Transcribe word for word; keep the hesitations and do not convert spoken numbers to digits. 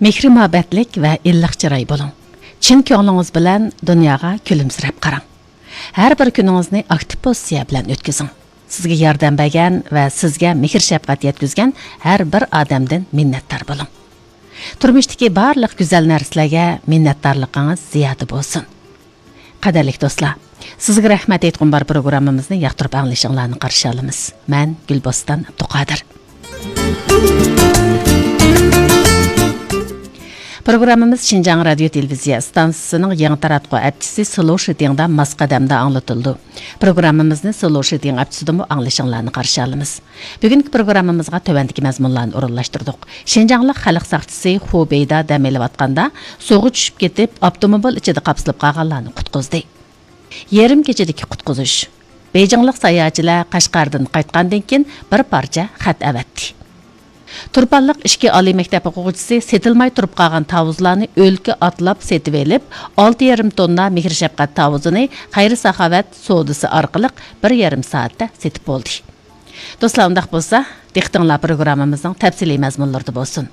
مېھرى-مۇھەببەتلىك ۋە ئىللىق چىراي بولۇڭ. چىن كۆڭلىڭىز بىلەن دۇنياغا كۈلۈمسىرەپ قاراڭ. ھەر بىر كۈنىڭىزنى ئاكتىپ پوزىتسىيە بىلەن ئۆتكۈزۈڭ. سىزگە ياردەم بەرگەن ۋە سىزگە مېھىر-شەپقەت يەتكۈزگەن ھەر بىر ئادەمدىن مىننەتدار بولۇڭ. تۇرمۇشتىكى بارلىق گۈزەل نەرسىلەرگە مىننەتدارلىقىڭىز زىيادە بولسۇن. قەدىرلىك دوستلار، سىزگە رەھمەت ئېيتقۇم بار پروگراممىمىزنى ياقتۇرۇپ ئاڭلىشىڭلارنى قارشى ئالىمىز. مەن گۈلبوستان ئابدۇقادىر. پروگراممىمىز شىنجاڭ رادىيو تېلېۋىزىيە ئىستانسىسىنىڭ يېڭى تاراتقۇ ئەپچىسى سلوشىتىڭدا ماس قەدەمدە ئاڭلىتىلىدۇ. پروگراممىمىزنى سلوشىتىڭ ئەپچىسىدىمۇ ئاڭلىشىڭلارنى قارشى ئالىمىز. بۈگۈنكى پروگراممىمىزغا تۆۋەندىكى مەزمۇنلارنى ئورۇنلاشتۇردۇق. شىنجاڭلىق خەلق ساقچىسى خۇ بېيدا دەم ئېلىۋاتقاندا سۇغا چۈشۈپ كېتىپ، ئاپتوموبىل ئىچىدە قاپسىلىپ قالغانلارنى قۇتقۇزدى. يېرىم كېچىدىكى قۇتقۇزۇش. بېيجىڭلىق ساياھەتچىلەر قەشقەردىن قايتقاندىن كېيىن بىر پارچە خەت ئەۋەتتى. تۇرپانلىق ئىككى ئالىي مەكتەپ ئوقۇغۇچىسى سېتىلماي تۇرۇپ قالغان تاۋۇزلارنى ئۆلكە ئاتلاپ سېتىۋېلىپ، ئالتە يېرىم توننا مېھىر-شەپقەت تاۋۇزىنى خەير-ساخاۋەت سودىسى ئارقىلىق بىر يېرىم سائەتتە سېتىپ بولدى. دوستلار، ئۇنداق بولسا، دىققىتىڭلار پروگراممىمىزنىڭ تەپسىلىي مەزمۇنلىرىدا بولسۇن.